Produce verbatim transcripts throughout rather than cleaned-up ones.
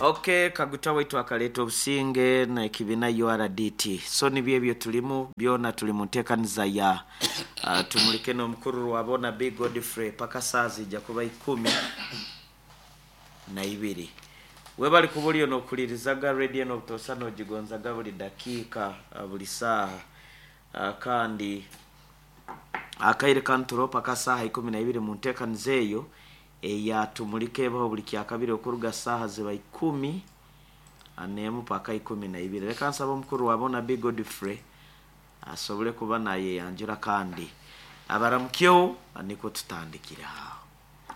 Okay, Kaguta waitu akaleeta obusinge n'ekibiina U R D T. So nibyo ebyo tulimu byona, tuli mu nteekaniza ya uh, Tumulike n'omukuru Rwabona B Godfrey paka saa zijja kuba ikumi na ibiri. Webali kuba oliyo n'okulirizaga radio n'obutosa n'ogigonzaga buli dakiika, uh, buli saaha, uh, kandi akaire kanturo paka saaha ikumi na ibiri mu nteekaniza eyo eya Tumulike ebaho buli kyakabiri okuruga saaha ziba ikumi n'emu paka ikumi na ibiri. Reka nsaba omukuru wabona B Godfrey asobole kuba nayeyanjura kandi abaramukyeho, niko tutandikire aho.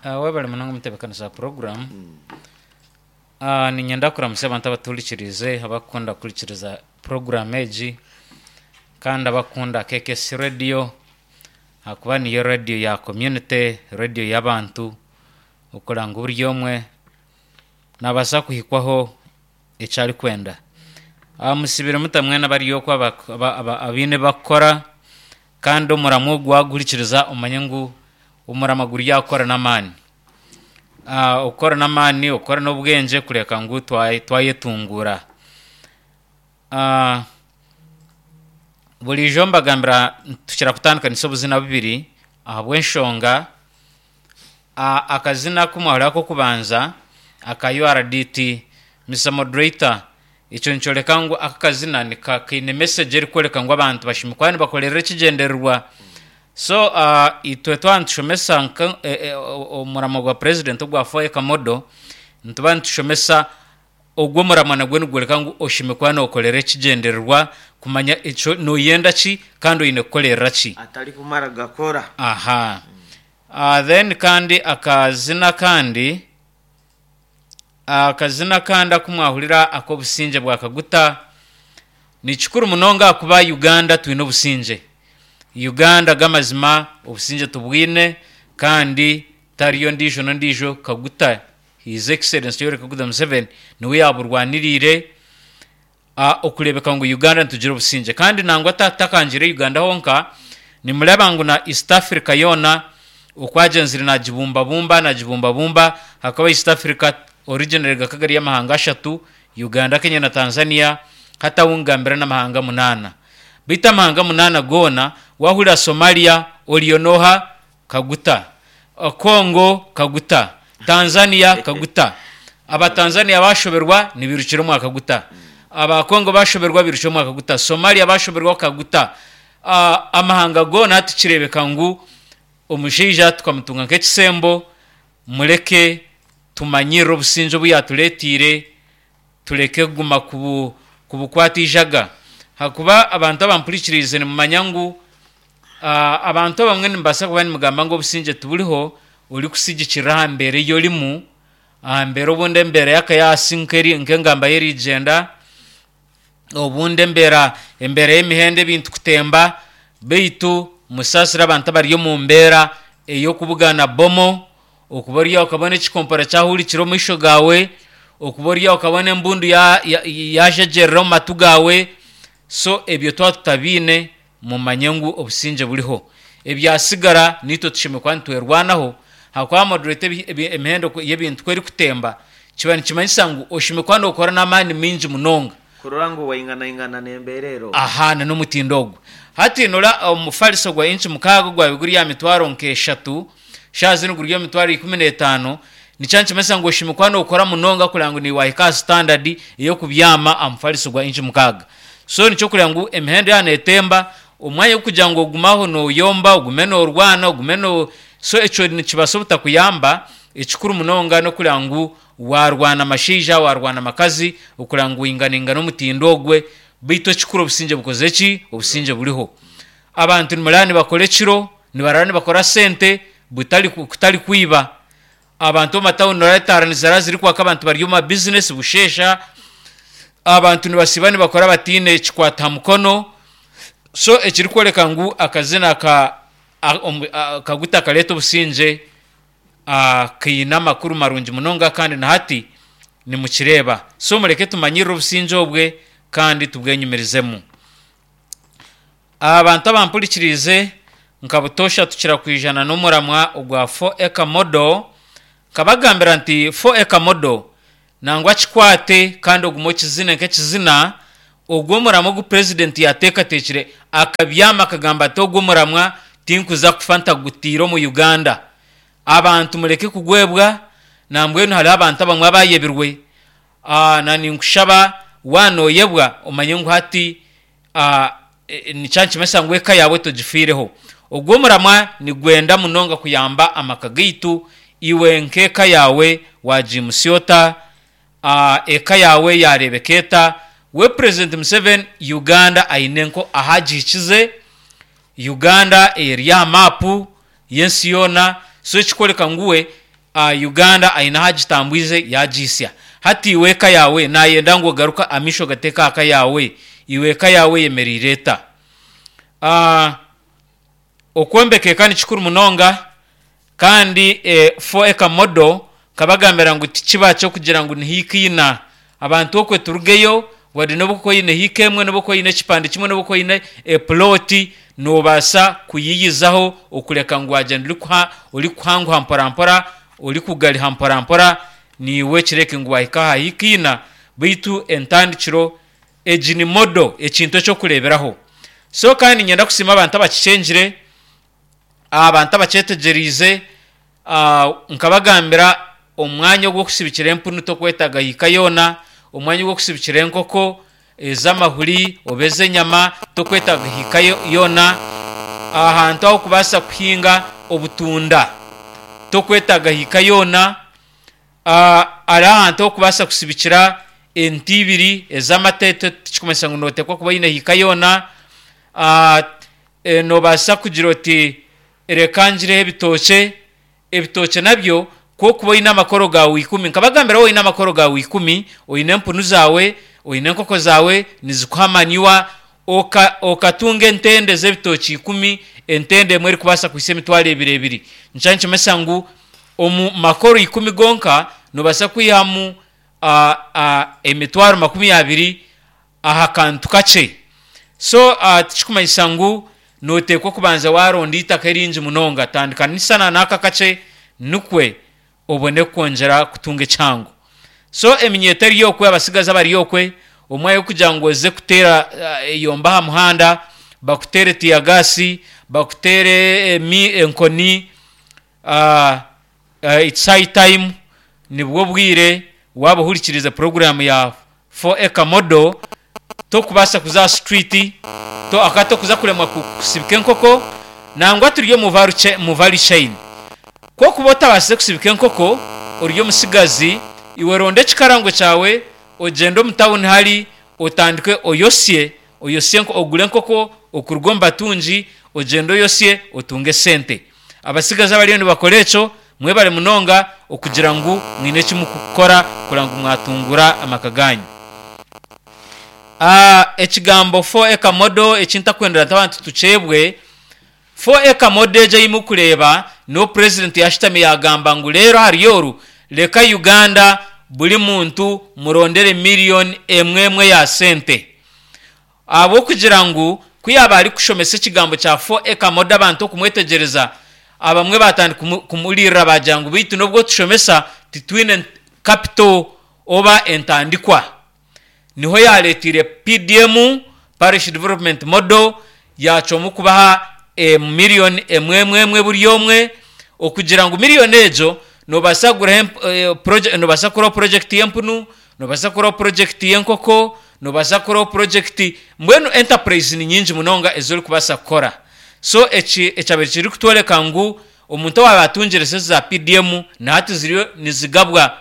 Uh, webale munonga omutebeekanisa program. uh, ninyenda kuramusa abantu abatuhurikirize, abakukunda kuhurikiriza program egi kandi abakunda K K S Radio, akuba niyo radio ya community, radio y'abantu, okuranga buri omwe nabaasa kuhikwaho eki arikwenda. uh, musibire mutamwena bari okwo aba- aba- aba- abaine bakukora, kandi omuramo ogu waguhurikiriza omanye ngu omurama guri yakukora n'amaani, uh, okukora n'amaani, okukora n'obwengye kureka ngu twa- twayetungura. uh, burijo mbagambira tukira kutandikanisa obuzina bubiri ahabw'enshonga uh, akazina kumwahurira k'okubanza aka U R D T, Mister Moderator, ekyo nikyoreka ngu aka kazina nika kaine message erikworeka ngu abantu bashimikwa nibakorera ekigyendererwa. So uh, itwe twaba nitushomesa nka eh, eh, omuramo gwa president ogwa four acre model, nituba nitushomesa ogwo omuramwa nagwo nigworeka ngu oshimikwa nokorera ekigyendererwa, kumanya ekyo noyenda ki kandi oine kukorera ki. Atari kumara gakora. Aha, uh, then kandi akazina kandi akazina kandi akumwahurira ak'obusingye bwa Kaguta ni kikuru munonga kuba Uganda twine obusingye. Uganda g'amazima obusingye tubwine, kandi tariyo ndiijo n'ondiijo, Kaguta, His Excellence Yoweri Kaguta Museveni, niwe yaburwaniriire uh, okurebeka ngu Uganda nitugira obusingye. Kandi nangwa ta- takangire Uganda honka, nimureba ngu na East Africa yoona okwagenzire nagibumbabumba nagibumbabumba hakaba East Africa originally gakaba gari amahanga ashatu, Uganda, Kenya na Tanzania. Hatawungambira n'amahanga munaana, baitu amahanga munaana goona wahurira Somalia oriyo noha? Kaguta. Uh, Congo Kaguta, Tanzania Kaguta. Abatanzania bashoberwa nibirukira omwa Kaguta, Abakongo bashoberwa birukira omwa Kaguta, Somalia bashoberwa Kaguta. uh, amahanga goona tukirebeka ngu omushaija tukamutunga nk'ekisembo. Mureke tumanyirire obusingye obu yatureetiire, tureke kuguma kubu kubukwata ijaga, hakuba abantu abampurikirize nimumanya ngu uh, abantu abamwe nimubaasa kuba nimugamba ngu obusingye tuburiho, orikusigikirira aha mbeera ei orimu, aha mbeera obundi embeera y'akayasi nk'eri- nk'engamba y'erigyenda, obundi embeera embeera y'emihendo, ebintu kutemba. Beitu musaasire abantu abari omu mbeera ey'okubugana bomo, okuba ori aho okabona ekikompora kyahurikire omu maisho gaawe, okuba ori aho okabona embundu yajagyerera omu matu gaawe. So ebyo twaba tutabiine, mumanye ngu obusingye buriho. Ebyasigara nitwe tushemeriire kuba nitwerwanaho, hakuba moderator, emihendo y'ebintu ku erikutemba kiba nikimanyisa ngu oshemeriire kuba nokora n'amaani maingi munonga kurora ngu wainganaingana n'embeera ero. Aha, na n'omutindo ogwo. Hati nora omufariso gwa inchi mukaaga gwabe guri aha mitwaro nk'eshatu, shaaha zinu guri omu mitwaro ikumi n'etaano. Nikyo nikimanyisa ngu oshemeriire kuba nokora munonga kureba ngu niwahika aha standard ey'okubyama aha mufariso gwa inchi mukaaga. So nikyo kureba ngu emihendo yaaba neetemba, omwanya gw'okugira ngu ogume aho noyomba, ogume norwana, ogume no so ekyo nikibaasa obutakuyamba. Ekikuru munonga n'okureba ngu warwana amashaija, warwana amakazi, okureba ngu wainganaingana omutindo ogwe. Beitu ekikuru obusingye bukoze ki? Obusingye buriho. Abantu nimuraba nibakora ekiro, nibarara nibakora sente butari kutari kwiba. Abantu omu matawuni noraba etaara nizirara zirikwaka, abantu bari omu mabizinesi busheesha, abantu nibasiiba nibakora batiine ekikwata aha mukono. So ekirikworeka ngu akazina ka a- omu- a- Kaguta kareeta obusingye ah, kaine amakuru marungi munonga, kandi na hati nimukireeba. So mureke tumanyirire obusingye obwe kandi tubwenyumirizemu. Abantu abampurikirize, nka butoosha tukira kwijana n'omuramwa ogwa four acre model. Nkabagambira nti four acre model Nangwa kikwate kandi ogume okizine nk'ekizina. Ogwo omuramwa ogu purezidenti yateekateekire, akabyama akagamba ati ogwo omuramwa tinkuza kufa ntagutiire omu Uganda. Abantu mureke kugwebwa. Nambwenu hariho abantu abamwe abayebirwe. Ah, na ninkushaba wanoyebwa omanye ngu hati ah, e- nikyankimesa ngu eka yawe togifiireho. Ogwo omuramwa nigwenda munonga kuyamba amaka gaitu. Iwe nk'eka yawe wagimutsya ota? Ah, eka yawe yareebeka eta? We President Museveni, Uganda aine nko ahagihikize. Uganda eri aha maapu y'ensi yoona. So ekikworeka ngu we uh, Uganda aine ahagitambwize yagihisya. Hati iwe eka yawe, nayenda ngu ogaruka amaisho gateeka aha ka yawe. Iwe eka yawe eyemereire eta? uh, okwombeka eka ni kikuru munonga. Kandi eh, four acre model nkabagambira ngu tikiba kyokugira ngu nihiika ina. Abantu okwe turugeyo wadde nobu oine hiika emwe, nobu oine ekipande kimwe, nobu oine eploti, nobaasa kuyiyizaho okureka ngu wagyenda orikuha orikuhanguha mpora mpora, orikugariha mpora mpora, niiwe kireke ngu wahika aha hiika ina. Baitu entandikiro egi ni model, ekintu ekyokureeberaho. So kandi niinyenda kusiima abantu abakikyengire, abantu abakyetegyereize. ah, nkabagambira omwanya ogw'okusibikira empunu tokwetaaga hiika yoona. Omwanya ogw'okusibikira enkoko ez'amahuri oba ez'enyama tokwetaaga hiika yo- yoona. Ahantu aho kubaasa kuhinga obutunda tokwetaaga hiika yoona. Ah, hariho ahantu ahokubaasa kusibikira ente ibiri ez'amata, tikikumanyisa ngu noteekwa kuba oine hiika yoona. Ah, eh, nobaasa kugira oti reka ngireho ebitookye. Ebitookye nabyo kwokuba oine amakoro gawe ikumi, nkabagambira oine amakoro gawe ikumi, oine empunu zaawe, oine enkoko zaawe nizikuha manure, oka okatunga entende z'ebitookye ikumi, entende emwe erikubaasa kuhisa emitwaro ebiri ebiri, nikyo nikimanyisa ngu omu makoro ikumi gonka nobaasa kwihamu uh, uh, emitwaro makumi abiri aha kantu kakye. So uh, tikikumanyisa ngu noteekwa kubanza waronda itaka eringi munonga. Tandika nisana n'aka kakye nikwe obone kwongyera kutunga ekyangu. So eminyeto eri okwe, abasigazi abari okwe, omwanya gw'okugira ngu oze kuteera uh, eyomba aha muhanda, bakuteere teargas, bakuteere emi enkoni, uh, uh, it's high time, nibwo bwire waaba ohurikirize poroguramu ya four acre model. Tokubaasa kuza aha street to aka tokuza kuremwa ku- kusibika enkoko. Nangwa turi omu value cha- mu value chain. Kwokuba otabaasize kusibika enkoko ori omusigazi, iwe ronda ekikarango kyawe, ogyende omu tawuni hari otandike oyosye oyosye enko- ogure enkoko okuruga omu batungi, ogyende oyosye otunge esente. Abasigazi abariyo nibakora ekyo, mwebare munonga okugira ngu mwine eki mukukora kureba ngu mwatungura amaka ganyu. Ah, ekigambo four acre model ekintakwendera nti abantu tukyebwe. four acre model egi ei mukureeba niho president yashutami yagamba ngu reero ahari oru reka Uganda buri muntu murondere miliyoni emwe emwe ya sente. Ahabw'okugira ngu ku yaaba arikushomesa ekigambo kya four acre model, abantu okumwetegyereza, abamwe batandika kumu- kumuririra bagira ngu beitu nobwo tushomesa titwine capital oba entandikwa. Niho yareetiire P D M, Parish Development Model, yacwamu kubaha emiliyoni emwe emwe emwe buri omwe, okugira ngu miliyoni egyo nobaasa kuguraho emp- eh, proje- nobaasa kukuraho project y'empunu, nobaasa kukuraho project y'enkoko, nobaasa kukuraho project. Mbwenu enterprise ni nyingi munonga ez'orikubaasa kukora. So eki ekyabaire kirikutworeka ngu omuntu owaaba atungire sente za P D M, na hati ziriyo nizigabwa,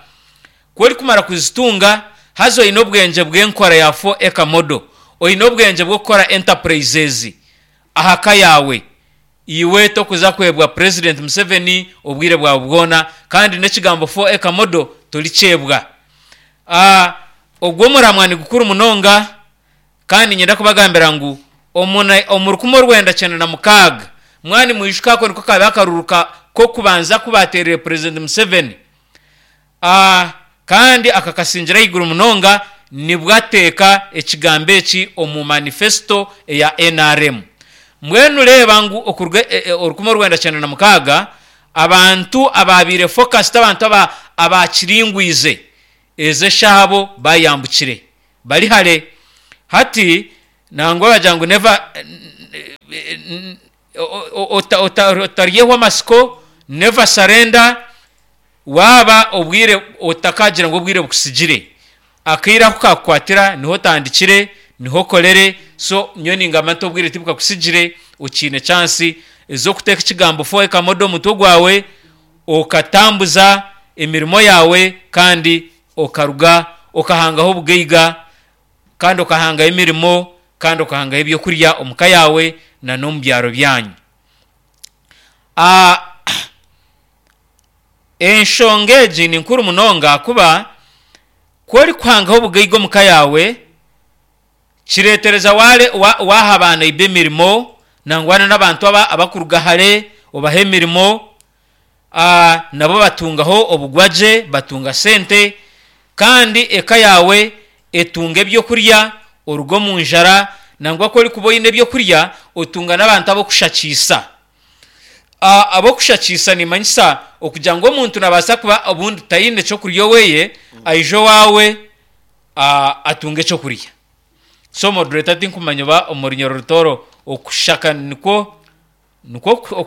ku orikumara kuzitunga haza oine obwengye bw'enkora ya four acre model, oine obwengye bw'okukora enterprises aha ka yawe, iwe tokuza kwebwa President Museveni obwire bwawe bwona. Kandi n'ekigambo four acre model torikyebwa. uh, ogwo omuramwa ni gukuru munonga. Kandi nyenda kubagambira ngu omuna- omu rukumi orwenda kyenda na mukaaga, mwani mwijuka, ako niko kabe akaruru ka- k'okubanza kubaterire President Museveni. uh, kandi akakasingira ahaiguru munonga, nibwo ateeka ekigambo eki omu manifesto eya N R M. Mbwenu reeba ngu okuruga e- e- orukumi orwenda kyenda na mukaaga abantu ababiire focused, abantu aba abakiringwize. Ez'eshaabo bayambukire bari hare. Hati nangwa bagira ngu never otaryeho amasiko, never surrender. Waaba obwire otakagira ngu obwire bukusigire, akaire aku kakukwatira niho otandikire, niho okorere. So nyowe ningamba nti obwire tibukakusigire, okiine chance ez'okuteeka ekigambo four acre model omu mutwe gwawe, okatambuza emirimo yawe kandi okaruga okahangaho obugaiga, kandi okahangaho emirimo, kandi okahangaho ebyokurya omuka yawe na n'omu byaro byanyu. Ah, enshonga egi ni nkuru munonga ahakuba ku orikuhangaho obugaiga omuka yawe, kireetereza waare waha abaana iba emirimo, nangwa n'abantu aba abakuruga hare obaha emirimo, ah, nabo batungaho obugwagye, batunga sente, kandi eka yawe etunga ebyokurya, oruga omu njara. Nangwa ku orikuba oine ebyokurya, otunga n'abantu ab'okushakiisa. Ab'okushakiisa nimanyisa okugira ngu omuntu nabaasa kuba obundi taine kyokurya oweye, aije owaawe atunge ekyokurya. So moderator, tinkumanya oba omu Runyoro Rutooro okushaka nikwo nikwo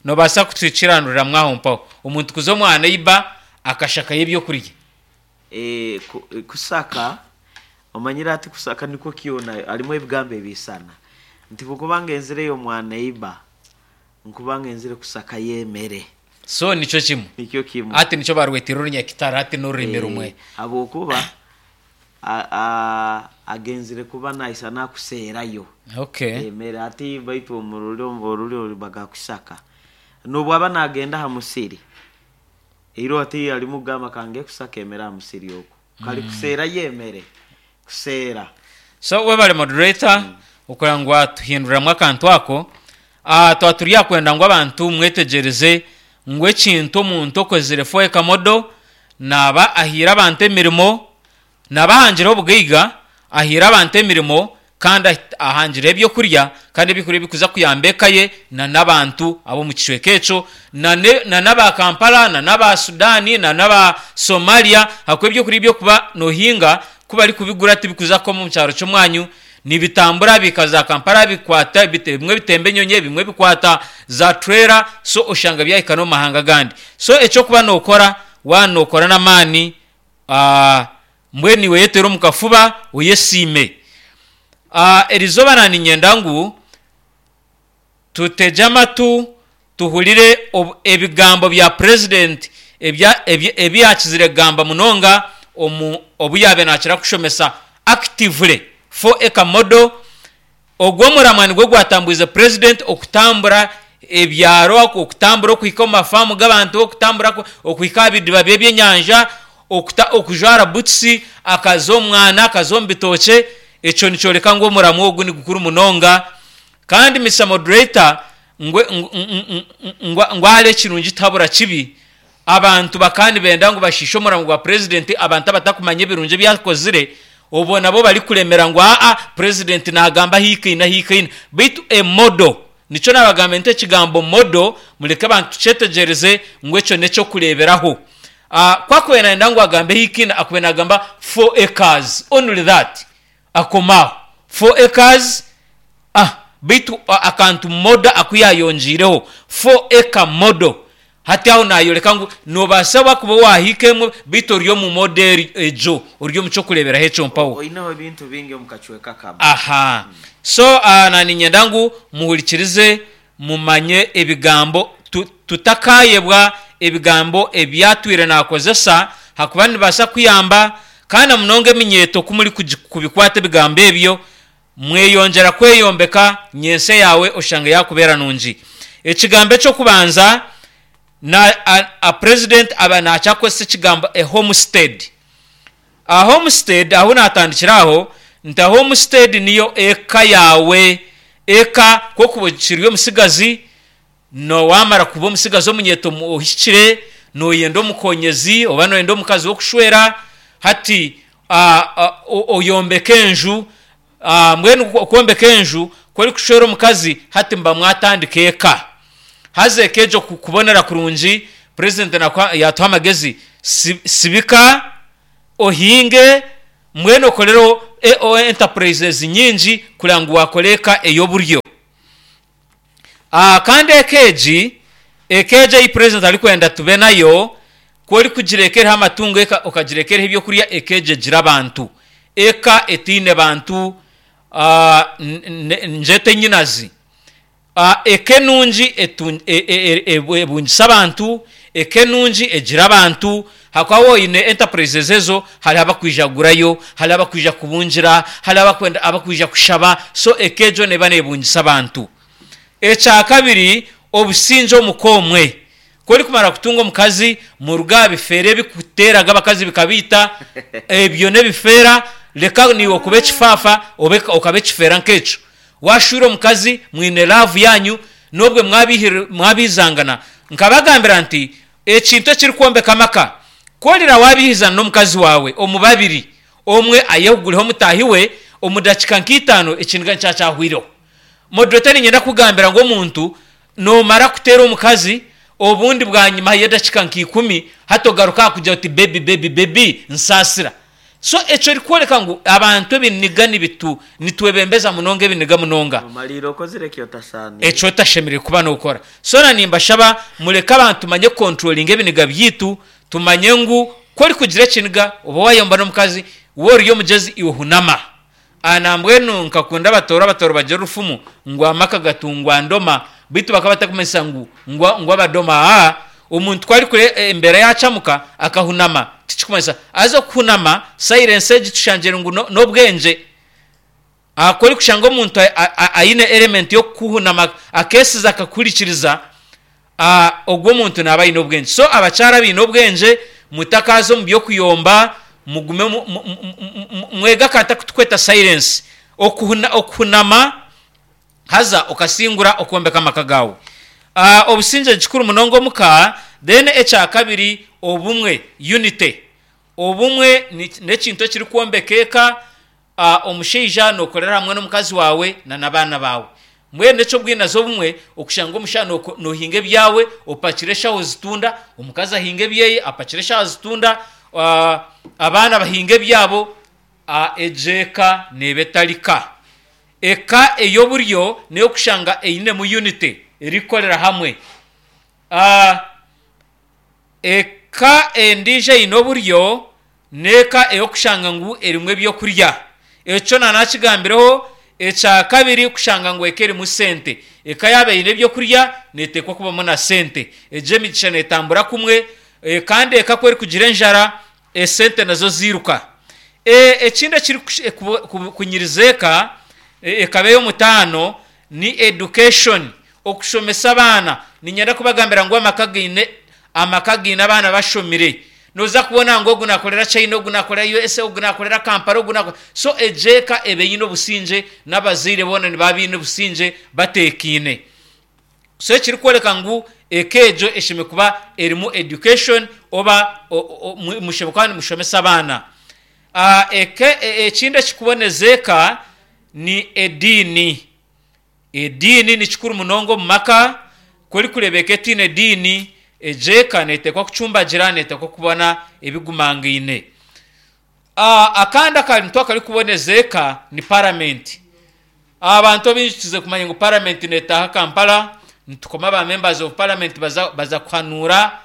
nobaasa kutukiranduriramu aho mpaho, omuntu kuza omwa neighbour akashakayo ebyokurya? Eh, kusaka omanyire ati kusaka nikwo kyona harimu ebigambo ebisana nti bwekuba ngenzireyo mwa neighbor, nkuba ngenzire kusakayo emere. So nikyo kimwe? Nikyo kimwe. Ati nikyo barwetire orunyakitara, hati n'orurimi rumwe. Habwokuba agenzire kuba naisa nakuseerayo okay emere. Ati baitu omu rurimi bagakusaka n'obu aba nagenda aha musiri iro, ati arimu kugamba kange kusaka emere aha musiri okwo, kari kuseerayo emere, kuseera. So webale moderator mm. Okureba ngu watuhinduramu akantu ako. uh, twaba turi akwenda ngu abantu mwetegyereze ngu ekintu omuntu okozire four acre model naaba ahiire abantu emirimo, naaba ahangireho obugaiga, ahiire abantu emirimo, kandi ahangireho ebyokurya, kandi ebyokurya ebikuza kuyamba eka ye na n'abantu ab'omu kicweka ekyo na n'aba Kampala na n'aba Sudan na n'aba Somalia, ahakuba ebyokurya ebyokuba nohinga ku barikubigura tibikuza kukoma omu kyaro ky'omwanyu, nibitambura bikaza Kampala, bikwata bimwe bitemba enyonyi, ebimwe bikwata za trailer, so oshanga byahika n'omu mahanga agandi. So ekyokuba nokora, waaba nokora n'amaani, mbwenu iwe yeteere omu kafuba oyesiime. Erizooba naaniinyenda ngu tutegye amatu tuhurire ebigambo bya president ebi yaakizire kugamba munonga omu obu yaabaire naakira kushomesa actively four acre model. Ogwo omuramwa nigwo gwatambwize president okutambura ebyaro, okutambura okuhika omu mafaamu g'abantu, okutambura okuhika aha bidiba by'ebyenyanja, okujwara butusi akaza omu mwana, akaza omu bitookye. Ekyo nikyoreka ngu omuramwa ogu nigukuru munonga. Kandi Mister Moderator, ngu ahari ekirungi tihabura kibi. Abantu bakaba nibenda ngu bashiishe omuramwa gwa president, abantu abatakumanya ebirungi ebi akozire, obwo nabo barikuremera ngu aa president nagamba ahiikaine ahiikaine. Beitu emodo nikyo nabagambire nti ekigambo modo mureke abantu tukyetegyereze ngu ekyo n'ekyokureeberaho. Ku akubaire nayenda ngu agambe ahiikaine, akubaire nagamba four acres, only that, akoma aho four acres. Ah, beitu akantu modo aku yayongiireho four acre model, hati aho nayoreka ngu nobaasa wakuba wahiika emwe, beitu ori omu model egyo, ori omu ky'okureeberaho ekyo mpaho. Oineho ebintu bingi omu kacweka kamwe. Aha. So uh, naninyenda ngu muhurikirize mumanye ebigambo, tutakayebwa ebigambo ebyatwire nakozesa, hakuba nibibaasa kuyamba. Kandi na munonga eminyeeto, ku muri kubikwata ebigambo ebyo, mweyongyera kweyombeka nyentsya yaawe oshanga yakubeera nungi. Ekigambo eky'okubanza na a, a president aba nakyakozesa ekigambo a homestead. A homestead, ahu natandikira aho nti a homestead niyo eka yawe. Eka kwokuba okiri omusigazi, nowamara kuba omusigazi omunyeeto ohikire, noyenda omukonyezi oba noyenda omukazi w'okushwera, hati oyombeka enju. Mbwenu okwombeka enju, ku orikushwera omukazi, hati muba mwatandika eka. Haza eka egyo kubonera kurungi, president yatuha amagezi, sibika. Ohinge mbwenu okorereho e- o enterprises nyingi kureba ngu wakora eka ey'oburyo. Ah, kandi eka egi eka egi ei president arikwenda tube nayo, ku orikugira eka eriho amatungo, eka okagira eka eriho ebyokurya, eka egi egira abantu. Eka etaine bantu, ah, n- n- ngyete enyinazi. Ah, eka enungi etu- e- e- e- ebungisa abantu, eka enungi egira abantu, hakuba woine enterprises ezo, hariho abakwija kugurayo, hariho abakwija kubungira, hariho abakwenda abakwija kushaba, so eka egyo neeba neebungisa abantu. Ekya kabiri, obusingye omuka omwe. Ku orikumara kutunga omukazi, muruge aha bifeera ebikuteeraga abakazi bikabiita, ebyo n'ebifeera, reka niiwe okuba ekifaafa obe okaba ekifeera nk'ekyo. Waashwire omukazi, mwine love yanyu, n'obwe mwabihir- mwabihizangana, nkabagambira nti ekintu ekirikwombeka amaka, ku orira waabihizana n'omukazi waawe omu babiri, omwe ayehugureho mutaahi we, omu dakiika nk'itaano ekiniga nikyo kyahwireho. Moderator, niinyenda kugambira ngu omuntu noomara kuteera omukazi, obundi bwanyima y'edakiika nk'ikumi, hati ogaruka aha kugira oti "Baby, baby, baby, nsaasira." So ekyo erikworeka ngu abantu ebiniga nibitu nitwebembeza munonga ebiniga munonga. Omaliire okozire eki otasaaniire. Ekyo otashemereire kuba nookora. So na nimbashaba mureke abantu tumanye kucontrollinga ebiniga byaitu, tumanye ngu ku orikugira ekiniga oba wayomba n'omukazi, we ori omugyezi, iwe hunama. Ah, nambwenu nkakunda Abatooro, Abatooro bagira orufumu ngu amaka gatungwa ndoma, beitu bakaba batakumanyisa ngu ngu ngu abadoma. Aa, omuntu ku arikure embeera yacamuka akahunama, tikikumanyisa haza okuhunama silence egi tushangire ngu no- n'obwengye. Ah, ku orikushanga omuntu a- a- aine element y'okuhunama akeesiza akakuhurikiriza, ah, ogwo omuntu naaba aine obwengye. So abakyara abaine obwengye, mutakaaza omu by'okuyomba, mugume mu- mu- mu- mu- mwege akantu akutukweta silence. Okuhuna, okuhunama haza okasingura okwombeka amaka gaawe. Ah, obusingye kikuru munonga omuka. Then ekya kabiri, obumwe, unity. Obumwe ni- n'ekintu ekirikwombeka eka. ah, omushaija nookorera hamwe n'omukazi waawe na n'abaana baawe. Mbwenu eky'obwinazi obumwe okushanga omushaija nooko- noohinga ebyawe opakire eshaho zitunda, omukazi ahinga ebyeye apakire eshaho zitunda, ah, abaana bahinga ebyabo, ah, egyo eka neeba etari ka. Eka ey'oburyo n'eyokushanga einemu unity, erikukorera hamwe. Ah, eka endiijo eine oburyo n'eka ey'okushanga ngu erimu ebyokurya. Ekyo nanakigambireho. Ekya kabiri, kushanga ngu eka erimu sente. Eka yaaba eine ebyokurya, neeteekwa kubamu na sente. Egyo emigisha neetambura kumwe, e, kandi eka ku erikugira enjara, esente nazo ziiruka. E, ekindi ekiri kunyiriza eka e, ekaba ey'omutaano ni education, okushomesa abaana. Niinyenda kubagambira ngu amaka gaine amaka gaine abaana bashomire, noza kubona ngu ogu nakorera China, ogu nakorera U S A, ogu nakorera Kampala, ogu nakorera. So egyo eka eba eine obusingye, n'abazaire boona nibaba baine obusingye, bateekaine. So ekirikworeka ngu eka egyo eshemereire kuba erimu education oba mushemereire kuba nimushomesa abaana. Ah, eka ekindi ekikuboneza eka ni ediini. Ediini ni kikuru munonga omu maka. Ku orikureeba eka etaine ediini, egyo eka neeteekwa kucumbagira, neeteekwa kubona ebigumangaine. Ah, akandi akantu akarikuboneza eka ni paramenti. Abantu abaingi tukize kumanya ngu paramenti neetaaha Kampala, nitukoma ba members of parliament baza, baza kuhanuura.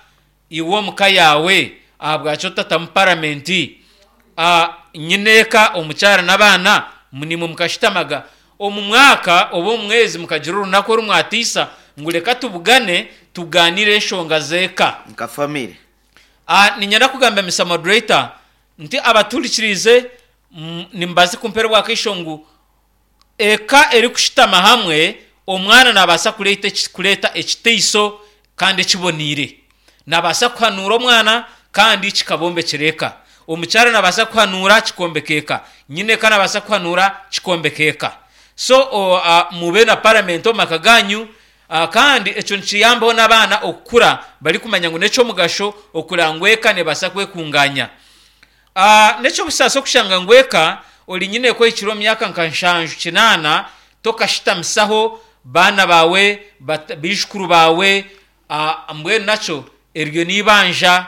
Iwe omuka yaawe ahabwaki otatamu paramenti? Ah, nyine eka, omukyara n'abaana, nimwe mukashutamaga omu mwaka oba omu mwezi mukagira orunaku oru mwatiisa ngu reka tubugane tugaanire enshonga z'eka nka family. Ah, niinyenda kugamba, Mister Moderator, nti abaturikiriize, mm, nimubaase kumpera obwakaisho ngu eka erikushutama hamwe, omwana nabaasa kureeta eki- kureeta ekiteiso kandi ekiboniire. Nabaasa kuhanuura omwana kandi kikabombekyera eka. Omukyara nabaasa kuhanuura kikombeka eka. Nyina eka nabaasa kuhanuura kikombeka eka. So o, uh, mube na paramenti omu maka ganyu, uh, kandi ekyo nikiyambaho n'abaana okukura barikumanya ngu n'ekyomugasho okureba ngu eka nebaasa kwekunganya. Uh, n'ekyobusaasi okushanga ngu eka ori nyine kwehikire omu myaka nka nshanju, kinaana, tokashitamisaho baana bawe, bat- baijukuru bawe. uh, mbwenu nakyo eryo n'ibanja.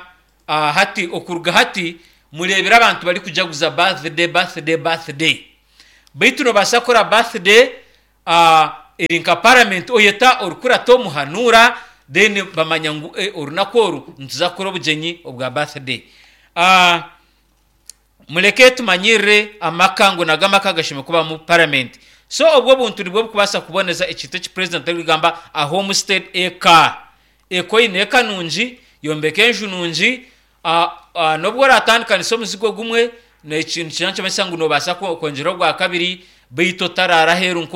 uh, hati okuruga hati Mureebire abantu barikujaguza birthday, birthday, birthday. Baitu nobaasa kukora birthday uh, eri nka parliament, oyeta orikurata omuhanuura, then bamanya ngu eh, orunaku oru nituza kukora obugyenyi obwa birthday. Uh, muleke tumanyirire amaka ngu nago amaka gashemeriire kubamu parliament. So obwo obuntu nibwo bukubaasa kuboneza ekintu eki president arikugamba a homestead eka. Eka oine eka nungi, yombeka enju nungi, uh, uh, nobwo oratandikanisa omuzigo gumwe, nekintu kira nikimanyisa ngu nobaasa kwongyera ogwa kabiri, baitu otarara aheeru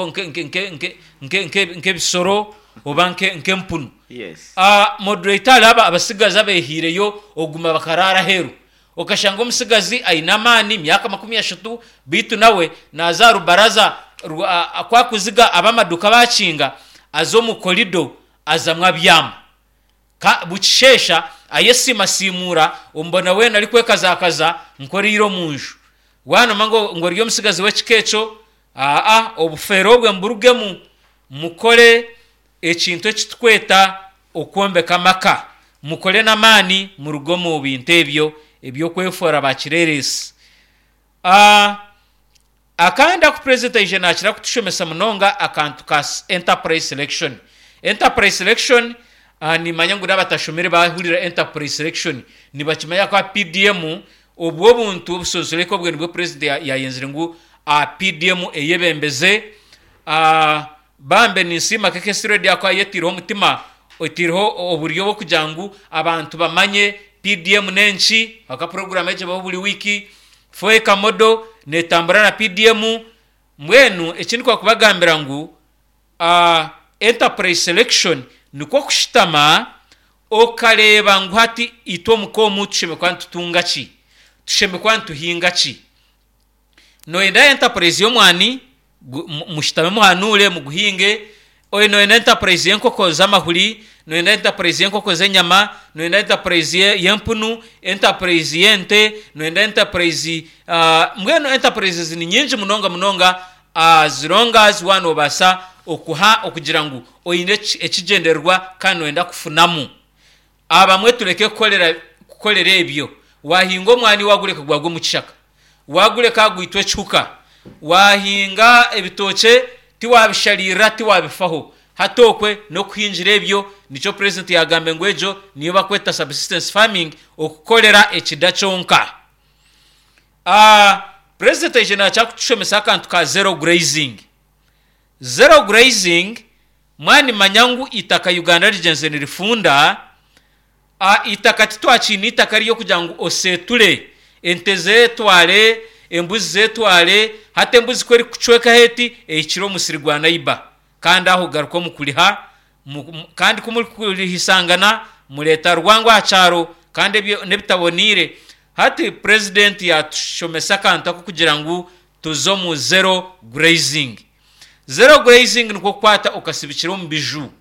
nk'ebisoro oba nk'empunu. Yes. Uh, moderator hariho abasigazi abehiireyo oguma bakarara aheeru. Okashanga omusigazi aine amaani myaka makumi ashatu, baitu nawe naza aha rubaraza kwakuziga ab'amaduuka bakinga, aza omu korido azamu abyama. Bukisheesha ayesiimasiimuura, omubona weena arikwekazakaza nk'oriire omu nju. Wanoma ngu ori omusigazi w'ekika ekyo, aa obufeero obwe mburugemu, mukore ekintu ekitukweta okwombeka amaka. Mukore n'amaani muruge omu bintu ebyo eby'okwefoora bakireeresi. Uh, akandi aku president aije nakira kutushomesa munonga akantu ka enterprise selection. Enterprise selection, uh, nimanya ngu n'abatashomire bahurira enterprise selection nibakimanya kwa P D M obwo obuntu obusonsoreko obwe nibwo president yayenzire ngu uh, P D M eyebembeze. Uh, bambe ninsiima K K C Radio ako ayetireho omutima, otireho oburyo bw'okugira ngu abantu bamanye P D M n'enki, aka program egyo baho buri wiki, foeka modo netambura na P D M. Mbwenu ekindi kwakubagambira ngu uh, enterprise selection nikwo kushitama okareeba ngu hati itwe omuka omu tushemeriire kuba nitutunga ki, tushemeriire kuba nituhinga ki. Noyenda enterprise y'omwani, mushitame muhanure muguhinge. Oyo noyenda enterprise y'enkoko z'amahuri, noyenda enterprise y'enkoko z'enyama, noyenda enterprise y'empunu, enterprise y'ente, noyenda enterprise uh, mbwenu enterprises ni nyingi munonga munonga, uh, zirongazi wano obasa okuha okugira ngu oine ekigyendererwa kandi noyenda kufunamu. Abamwe tureke kukorera kukorera ebyo. Wahinga omwani wagureka gwagwa omu kishaka, wagureka gwitwa ekihuka, wahinga ebitookye tiwabisharirira tiwabifaho. Hati okwe n'okuhingira ebyo nikyo president yagambe ngu egyo niyo bakweta subsistence farming, okukorera ekida kyonka. Uh, president aije nakyakutushomesa akantu ka zero grazing. Zero grazing, mwani manya ngu itaka Uganda rigyenze nirifunda, uh, itaka titwakiine itaka ryo kugira ngu oseture ente zetware, embuzi zetware, hati embuzi kweri kucweka heti ehikire omusiri gwa naiba, kandi aho garuka omu kuriha, kandi kumurihisangana mureta rwango aha kyaro kandi ebyo n'ebitaboniire. Hati president yatushomesa akantu ako kugira ngu tuze omu zero grazing. Zero grazing nikwo kukwata okasibikira omu biju,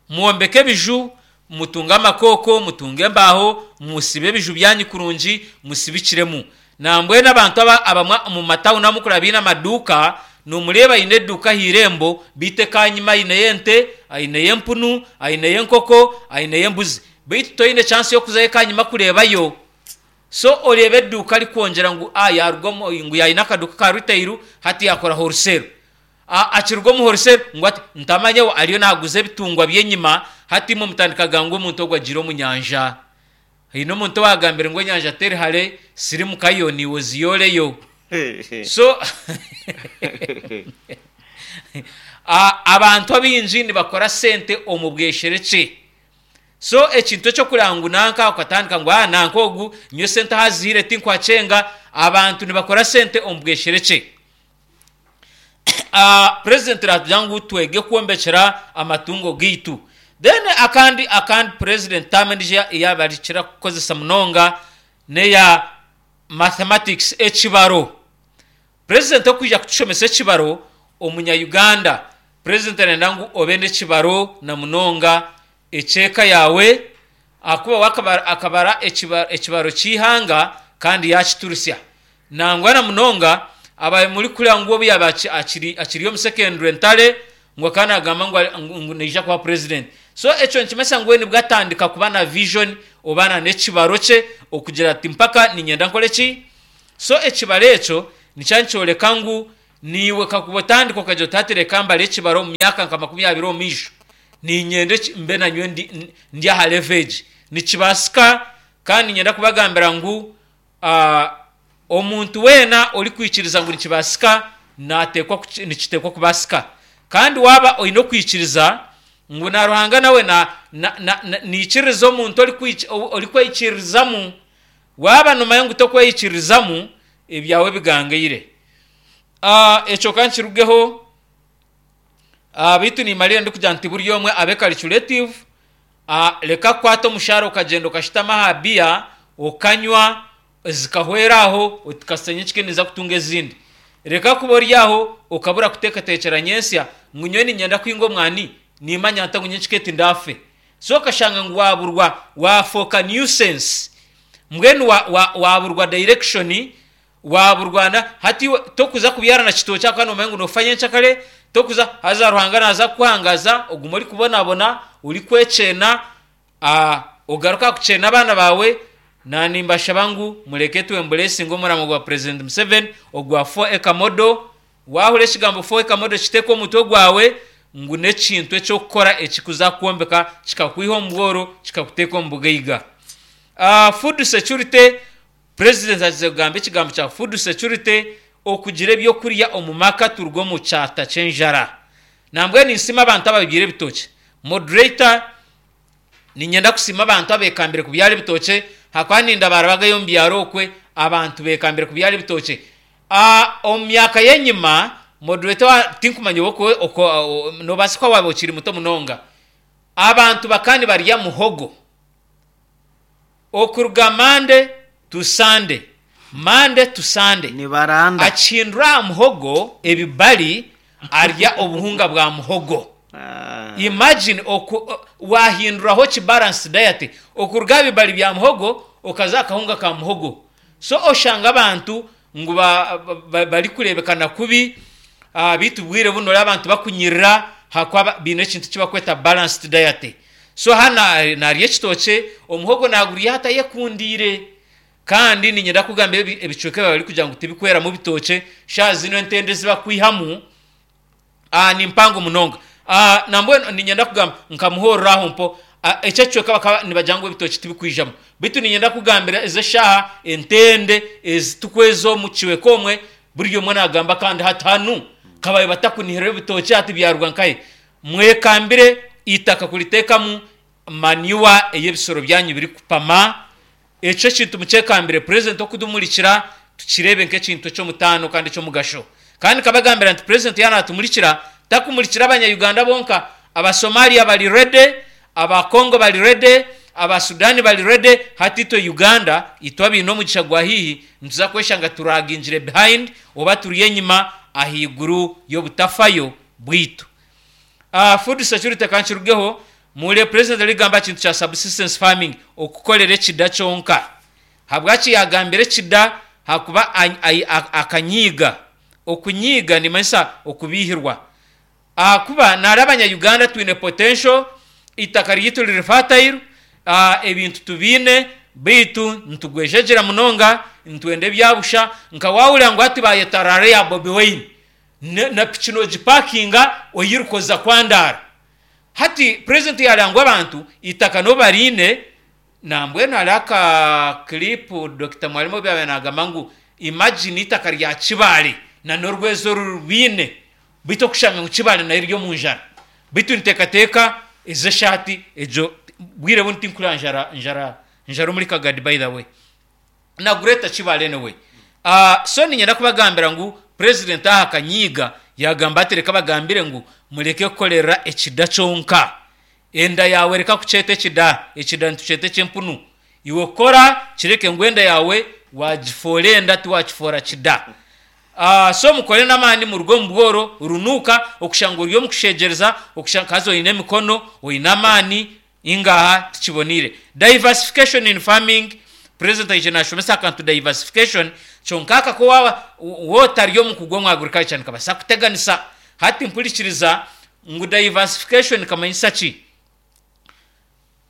mwombeke ebiju, mutunge amakoko, mutunge embaho, musibe ebiju byanyu kurungi, musibikiremu. Nambwenu abantu abamwe omu matawuni amukuraba biine amaduuka, nomureeba aine eduuka aha irembo, beitu ekanyima aineyo ente, aineyo empunu, aineyo enkoko, aineyo embuzi, beitu toine chance y'okuzayo ekanyima kureebayo. So oreeba eduuka arikwongyera ngu ah, yaruga ngu yaine akaduuka ka retail, hati yakora wholesale. Akiruga omu wholesale ngu ati ntamanyeho ariyo naguza ebitungwa by'enyima, hati imwe mutandikaga ngu omuntu ogwo agiire omu nyanja. Haine omuntu owagambire ngu enyanja teri hare, sirimukayo niiwe oziyoreyo. So abantu abaingi nibakora sente omu bwesherekye. So ekintu ekyokureba ngu nanka okatandika ngu ah, nanka ogu nyowe sente ahaziire tinkwakyenga, abantu nibakora sente omu bwesherekye. Uh, president ratugira ngu twege kwombekera amatungo gaitu. Then akandi akandi president tamendija eyabarikira kukozesa munonga neya mathematics, ekibaro. President okwija kutushomesa ekibaro omunya Uganda, president arenda ngu obe n'ekibaro na munonga ekyeka yawe, akuba wakabara akabara ekibaro ky'ihanga kandi yakiturusya. Nangwa na munonga abaye muri kureba ngu obu yaba akiri akiri omu secondary ntare ngu akaba nagamba ngu naija kuba president. So ekyo nikimanyisa ngu we nibwo atandika kuba na vision oba n'ekibaro kye okugira ati mpaka niinyenda nkore ki. So ekibaro ekyo nikyo nikyoreka ngu niiwe kakuba otandika okagira oti hati reka mbare ekibaro omu myaka nka makumi abiri omu maisho niinyenda mbe nanyowe ndi, ndi aha level egi. Nikibaasika. Kandi niinyenda kubagambira ngu uh, omuntu weena orikwikiriza ngu nikibaasika nateekwa, nikiteekwa kubaasika. Kandi waaba oine okwikiriza ngu na Ruhanga nawe na, na, na, na, niikiriza omuntu orikweyikiririzamu, waaba noomanya ngu tokweyikiririzamu, ebyawe bigangaire. Uh, ekyo kankirugeho. uh, beitu nimarira ndikugira nti buri omwe abe calculative. uh, reka kukwata omushahara okagenda okashutama aha biya okanywa zikahwera aho otikasenya ekike niza kutunga ezindi. Reka kuba ori aho okabura kuteekateekyera nyensya ngu nyowe niinyenda kuhinga omwani, nimanya nta ngu nyenkike tindafe. So okashanga ngu waburwa, wafooka nuisance, mbwenu waburwa wa, wa direction, waburwana. Hati tokuza kubyara na kitookye ahakuba noomanya ngu noofa nyencakare, tokuza haza Ruhanga naaza kukuhangaza ogume orikubonabona orikwekyena, uh, ogaruka kukyena abaana baawe. Na nimbashaba ngu mureke twemburesinga omuramo gwa President Museveni ogwa four acre model. Wahura ekigambo four acre model, kiteeka omutwe gwawe ngu n'ekintu eky'okukora ekikuza kwombeka kikakwiha omu bworo kikakuteeka omu bugaiga. Uh, food security, President agize kugamba ekigambo kya food security, okugira ebyokurya omu maka, turuga omu kyata ky'enjara. Nambwenu ninsiima abantu ababyire ebitookye. Moderator, niinyenda kusiima abantu abekambire kubyara ebitookye, hakuba ninda barabagayo omu byaro okwe abantu bekambire kubyara ebitookye. Omu myaka y'enyima, moderator, tinkumanya nobaasa kuba waaba okiri muto munonga, abantu bakaba nibarya muhogo okuruga Monday to Sunday, Monday to Sunday. Nibaranda. Akihindura aha muhogo ebibari, arya obuhunga bwa muhogo. Ah. Imagine oku wahinduraho ki balance diet okuruga aha bibari bya muhogo okaza akahunga ka muhogo. So oshanga abantu ngu barikureebekana kubi, uh, beitu bwire buno ori abantu bakunyirira hakuba biine ekintu kibakweta balanced diet. So hana narya ekitookye, omuhogo nagurya atayekundiire. Kandi niinyenda kugamba ebicweka ebi barikugira ngu tibikweramu bitookye, shaaha zino entende ezibakwihamu uh, ni mpango munonga. uh, nambwenu niinyenda kugamba nkamuhorera aho mpo uh, ekyo ekicweka bakaba nibagira ngu ebitookye tibikwijamu, beitu niinyenda kugambira ezi eshaaha entende ezitukweza omu kicweka omwe, buri omwe nagamba kandi hati hanu kabaye batakunihiraho ebitookye, hati byaruga nkahe. Mwekambire itaka kuriteekamu manure ey'ebisoro byanyu birikupama. Ekyo ekintu mukyekambire. President okudumurikira tukirebe nk'ekintu eky'omutaano kandi eky'omugasho. Kandi kabagambira nti President yaaba natumurikira, takumurikira abanya-Uganda bonka. Abasomalia bari ready, Abakongo bari ready, Abasudani bari ready. Hati itwe Uganda, itwe abaine omugisha gwa haihi, nituza kweshanga turagingire behind oba turi enyima ahaiguru y'obutafayo bwitu. uh, food security kankirugeho. Mure President arigamba kintu kya subsistence farming, okukorera ekida kyonka. Habwaki yagambire ekida? Hakuba akanyiiga. Okunyiiga nimanyisa okubihirwa, ahakuba nari abanya-Uganda twine potential, itaka ryitu riri fertile, uh, ebintu tubiine, beitu nitugwejegyera munonga, nitwenda ebyabusha. Nka wahurira ngu hati bayeta rally ya Bobi Wine, na piki nogipakinga oyirukoza kwandara. Hati President yaranga ngu abantu itaka no bariine. Nambwenu hariho aka clip Doctor Mwalimu obu yaabaire nagamba ngu imagine itaka rya Kibaale na n'orwezo rubiine, beitu okushanga ngu Kibaale nayo eri omu njara. Beitu niteekateeka ezi eshaati egyo bwire buno tinkureba njara njara njara omuri Kagadi, by the way, na Greater Kibaale anyway. uh, so niinyenda kubagambira ngu President aha akanyiiga, yagamba ati reka bagambire ngu mureke kukorera ekida kyonka. Enda yawe reka kukyeta ekida, ekida nitukyeta eky'empunu. Iwe kora kireke ngu enda yawe wagifoora enda, tiwakifoora kida. uh, so mukore n'amaani muruge omu bworo runuuka okushanga ori omu kusheegyereza, kazi oine emikono, oine amaani, ingaha tikiboniire. Diversification in farming, President aije nashomesa akantu diversification. Kyonka aka ko waaba wotari omukugu omu agriculture nikabaasa kuteganisa. Hati mpurikiriza ngu diversification kamanyisa ki.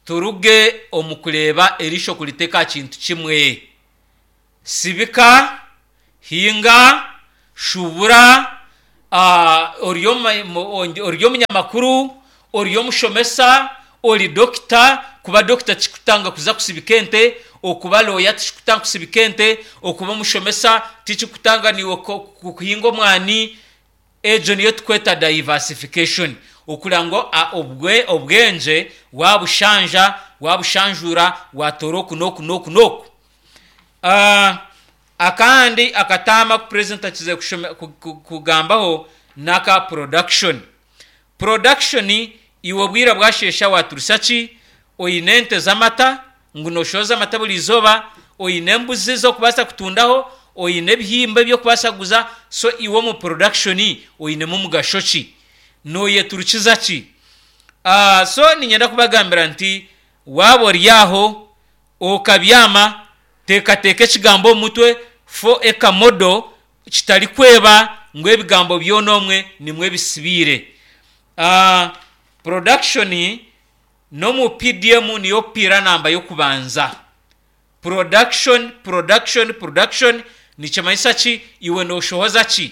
Turuge omu kureeba eriisho kuriteka aha kintu kimwe. Sibika, hinga, shubura, ori omunyamakuru, ori omushomesa, ori dokita. Kuba dokita tikikutanga kuza kusibika ente, okuba looya tikikutanga kusibika ente, okuba omushomesa tikikutanga niiwe kuhinga omwani. Egyo niyo tukweta diversification, okureba ngu obwengye wabushanja, wabushanjuura, watoora oku n'oku n'oku n'oku. Akandi akataama aku purezidenti akizire kugambaho n'aka production. Production iwe obwire bwasheesha waturusya ki? Oine ente z'amata ngu nooshohoza amata buri izooba, oine embuzi z'okubaasa kutundaho, oine ebihimba eby'okubaasa kuguza, so iwe omu production oinemu omugasho ki? Nooyeturukiza ki? So niinyenda kubagambira nti waaba ori aho okabyama, teekateeka ekigambo omu mutwe for ekamodo kitarikweba ngu ebigambo byona omwe nimwo bisibiire. Production n'omu P D M niyo pillar namba y'okubanza. Production, production, production nikimanyisa ki? Iwe nooshohoza ki?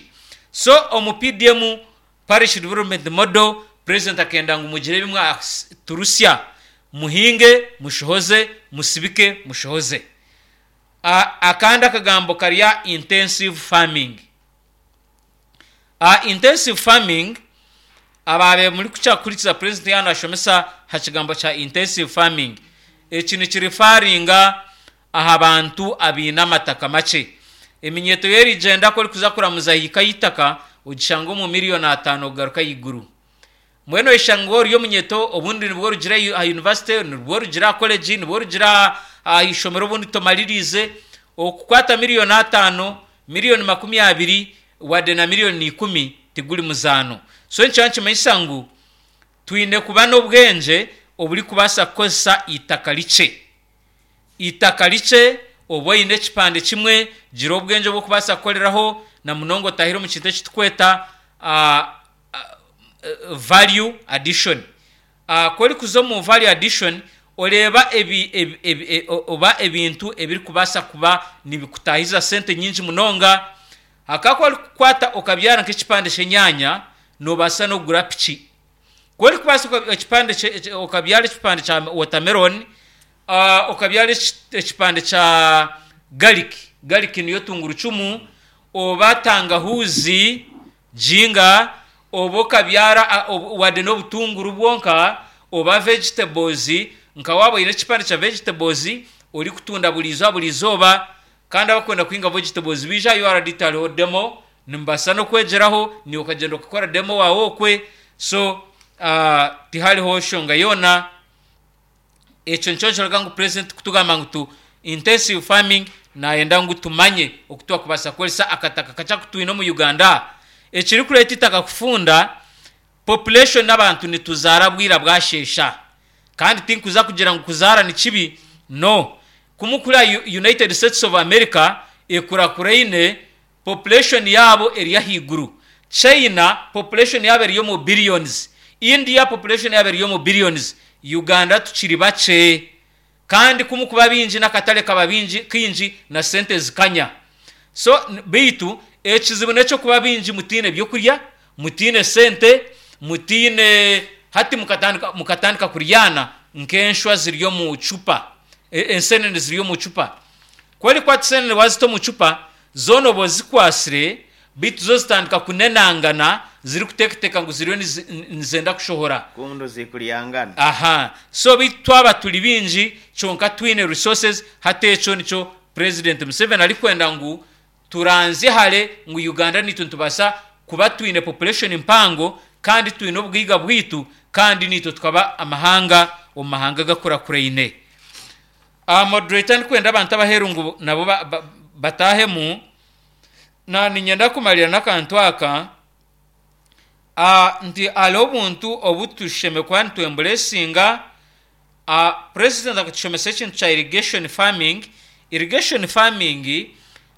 So omu P D M, Parish Development Model, president akenda ngu mugire ebi mwaturusya, muhinge mushohoze, musibike mushohoze. Akandi akagambo kari intensive farming. Intensive farming, ababe muri kukyakurikiza president yaaba nashomesa aha kigambo kya intensive farming, eki nikireferringa aha bantu abaine amataka makye. Eminyeto yerigyenda ku orikuza kuramuza hiika y'eitaka ogishanga omu miliyoni ataano kugaruka ahaiguru. Mbwenu oyeshanga ori omunyeto, obundi nibwo orugire aha university, nibwo orugire aha college, nibwo orugire aha ishomero, obundi tomaririize, okukwata miliyoni ataano, miliyoni makumi abiri, wadde na miliyoni ikumi tiguri muzaano. So nikiba nikimanyisa ngu twine kuba n'obwengye oburikubaasa kukozesa eitaka rikye. Eitaka rikye, oba oine ekipande kimwe, gira obwengye obw'okubaasa kukoreraho na munonga otahire omu kintu ekiturikweta value addition. Ku orikuza omu value addition, oreeba ebi, ebi, ebi, oba ebintu ebirikubaasa kuba nibikutahiza sente nyingi munonga. Hakaba ku orikukwata okabyara nk'ekipande ky'enyaanya, noobaasa n'okugura piki. Ku orikubaasa ekipande okabyara ekipande kya watermelon, okabyara ekipande kya garlic, garlic niyo tungurucumu, oba tangahuzi, ginger, oba okabyara wadde n'obutunguru bwonka, oba vegetables, nka waaba oine ekipande kya vegetables orikutunda buri izooba buri izooba. Kandi abakwenda kuhinga vegetables biija aha U R D, hariho demo, nimubaasa n'okwegyeraho, niiwe okagyenda okakora demo waawe okwe. So uh, tihariho nshonga yoona. Ekyo nikyo nkiraga ngu president kutugamba ngu tu intensive farming, nayenda ngu tumanye oku twakubaasa kukoresa akataka kakye aku twine omu Uganda. Ekirikureeta itaka kufunda, population, n'abantu nituzaara bwira bwasheesha. Kandi tinkuza kugira ngu kuzaara ni kibi, no. Kumukura United States of America ekurakuraine, population yaabo eri ahaiguru. China population yaabo eri omu billions, India population yaabo eri omu billions. Uganda tukiri bakye, kandi kumukuba bingi n'akatare kaba bingi kingi na sente zikanya. So beitu ekizibu n'ekyokuba bingi mutiine byokurya, mutiine sente, mutiine. Hati mukatandika mukatandika kuryana nk'enshwa ziri omu cupa, ensenene ziri omu cupa. Ku orikwata ensenene wazita omu cupa, zoona oba ozikwasire, beitu zo zitandika kunenangana zirikuteekateeka ngu ziriyo nizenda kushohora. Kundo zikuryangana. Aha, so beitu twaba turi bingi kyonka twine resources. Hati ekyo nikyo President Museveni arikwenda ngu turanzye hare ngu Uganda nitwe nitubaasa kuba twine population mpango kandi twine obugaiga bwitu, kandi nitwe tukaba amahanga omu mahanga gakurakuraine. Moderator, ndikwenda abantu abaheru ngu nabo batahemu. Na ninyenda kumarira n'akantu aka nti hariho obuntu obu tushemeriire kuba nitwembracinga. President akatushomesa ekintu kya irrigation farming. Irrigation farming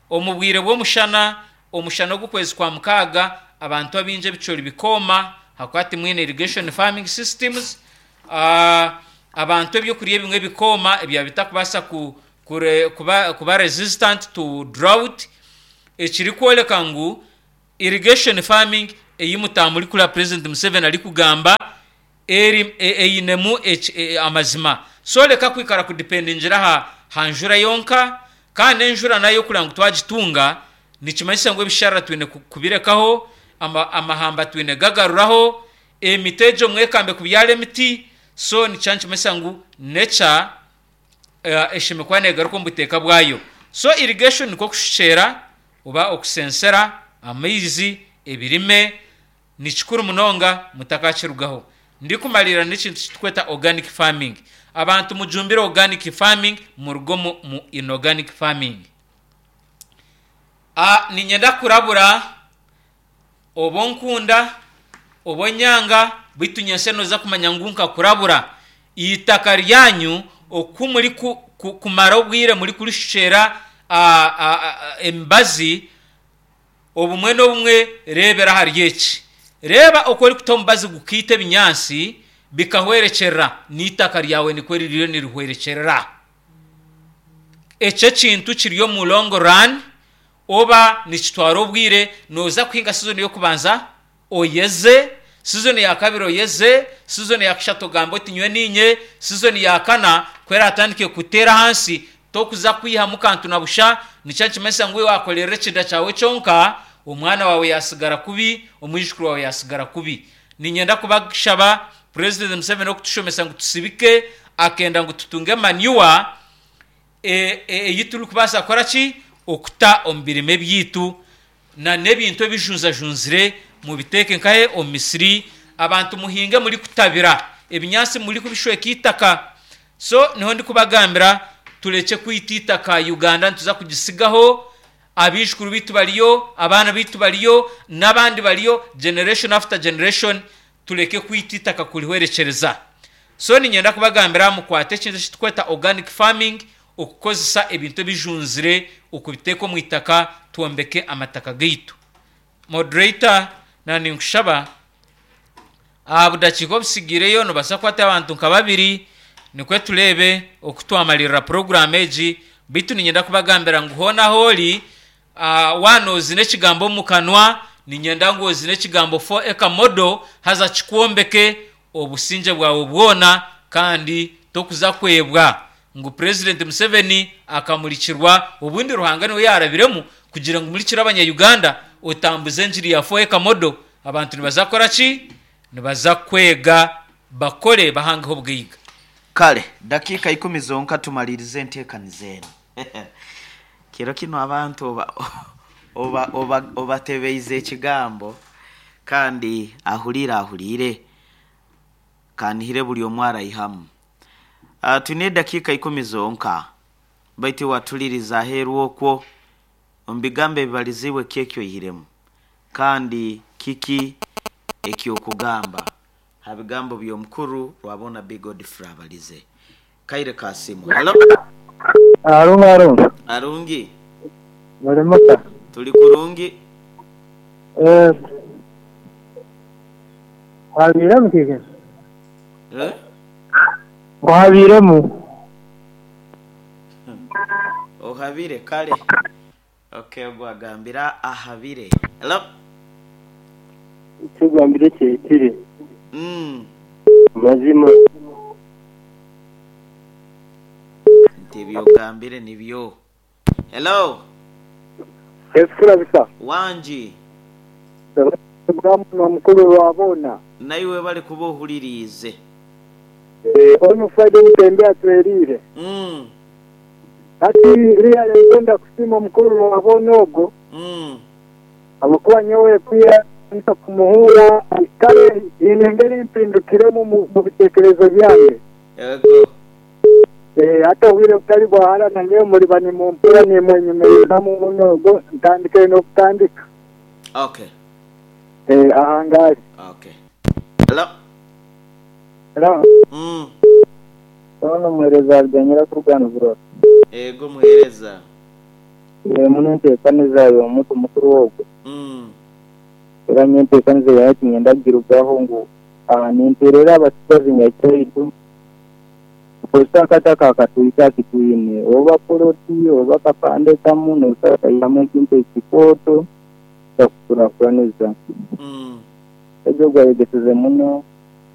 omu bwire bw'omushana, omushana ogw'okwezi kwa mukaaga, abantu abaingi ebicori bikooma hakuba timwine irrigation farming systems. uh, Abantu ebyokurya ebimwe bikooma ebya bitakubaasa ku, kure, kuba, kuba resistant to drought, ekirikworeka ngu irrigation farming ei mutamurikura President Museveni arikugamba eri einemu e, amazima. So reka kwikara kudependingira ha, ha njura yonka, kandi enjura nayo kugira ngu twagitunga nikimanyisa ngu ebisharara twine kubirekaho, ama, amahamba twine gagaruraho, emiti egyo mwekambe kubyara emiti. So nikyo nikimanyisa ngu nature uh, eshemekwa kuba negaruka omu buteeka bwayo. So irrigation nikwo kushukyera oba okusensera amaizi ebirime, ni kikuru munonga mutakakirugaho. Ndikumalira n'ekintu kitukweta organic farming. Abantu mujumbire organic farming, muruge mu, mu inorganic farming. A, ninyenda kurabura oba onkunda oba onyanga, baitu nyense noza kumanya ngu nkakurabura. Itaka ryanyu oku muri ku, ku, kumara obwire muri kurishukyera emibazi, obumwe n'obumwe reebera ahari eki. Reeba oku orikuta omubazi gukiita ebinyaatsi bikahwerekyerera, n'itaka ryawe nikwo ririyo nirihwerekyerera. Ekyo ekintu kiri omu long run, oba nikitwara obwire. Noza kuhinga season y'okubanza oyeze, season ya kabiri oyeze, season ya kashatu ogambe oti nywe ninye, season ya kana kwera atandike kuteera ahansi tokuza kwihamu kantu na busha. Nikyo nikimanyisa ngu wakorera ekinda kyawe kyonka, omwana wawe yasigara kubi, omwijukuru wawe yasigara kubi. Ninyenda kubashaba, President Museveni okutushomesa ngu tusibike, akenda ngu tutunge manure eyi turikubaasa kukora ki okuta omu birime byaitu, na n'ebintu ebijunzajunzire mubiteeke nkahe omu misiri. Abantu muhinge muri kutabira ebinyaatsi, muri kubishweka itaka. So niho ndikubagambira turekye kwita itaka. Uganda nituza kugisigaho abaijukuru baitu bariyo, abaana baitu bariyo, n'abandi bariyo, generation after generation. Tureke kwita itaka kurihwerekyereza. So ninyenda kubagambira mukwate ekintu ekitukweta organic farming, okukozesa ebintu ebijunzire okubiteeka omu itaka, twombeke amataka gaitu. Moderator, na ninkushaba aha budakiika obusigireyo nobaasa kukwata abantu nka babiri, nikwe tureebe oku twamalirira puroguramu egi. Baitu ninyenda kubagambira ngu hoona ahoori uh, waana ozine ekigambo omu kanwa, ninyenda ngu ozine ekigambo four acre model, haza kikwombeke obusingye bwawe bwona, kandi tokuza kwebwa ngu President Museveni akamurikirwa obundi Ruhanga niwe yarabiremu kugira ngu murikire abanya-Uganda, otambuze enjiri ya four acre model. Abantu nibaza kukora ki? Nibaza kwega, bakore, bahangeho obugaiga. Kale dakiika ikumi zonka tumalirize enteekaniza eno. Kiro kino abantu oba oba oba obatebeize ekigambo, kandi ahurire ahurire kanihire buri omwe araihamu. Uh, twine edakiika ikumi zonka, baitu watuliriza aheeru okwo omu bigambo ebibalizibwe, ki oihiremu kandi kiki ekyokugamba ha bigambo by'omukuru Rwabona B Godfrey abalize? Kaire kasimu. Halo. Arungi, arungi. Arungi. Muri muta? Tuli kurungi. Eh. Habiremu kiki? Eh? Ngo habiremu. Ohabire kale. Okay, ogwagambira ahabire. Hello. Ekigambire kyekiri mm. mazima. Nti ebyogambire nibyo. Hello. Ekurabisa. Wangi. Bwamuno mukuru Rwabona. Naiwe bali kuba ohuririize. Eh, ono Friday mutembe atwerire. Mm. Ati riya ngenda kusima omukuru Rwabona ogwo. Mm. Abakuba nyowe kuya nta kumuhura kale inengeri mpindukiremu mu bitekerezo byange. Yego. Eh, hata obwire butari bwahara na nyowe muri bani mumpura nimwenyemereramu muno ogwo ntandike n'okutandika. Okay. Eh, ahangazi. Okay. Hello. Hello. Mm. Ono muhereza ariganyira kurugana burora. Ego muhereza. Eh, muno enteekaniza y'omuntu mukuru ogwo. Mm. Era nye enteekaniza yaye tinyenda kugirugaho ngu ah, ninteerera abasigazi nyakyaitu. Nokozesa akataka akatwika akitwine oba poloti oba kapande kamu nosobola kaihamu ekintu ekikooto kyakukurakuraniza. Mm. Ebyo gwayegeseze muno.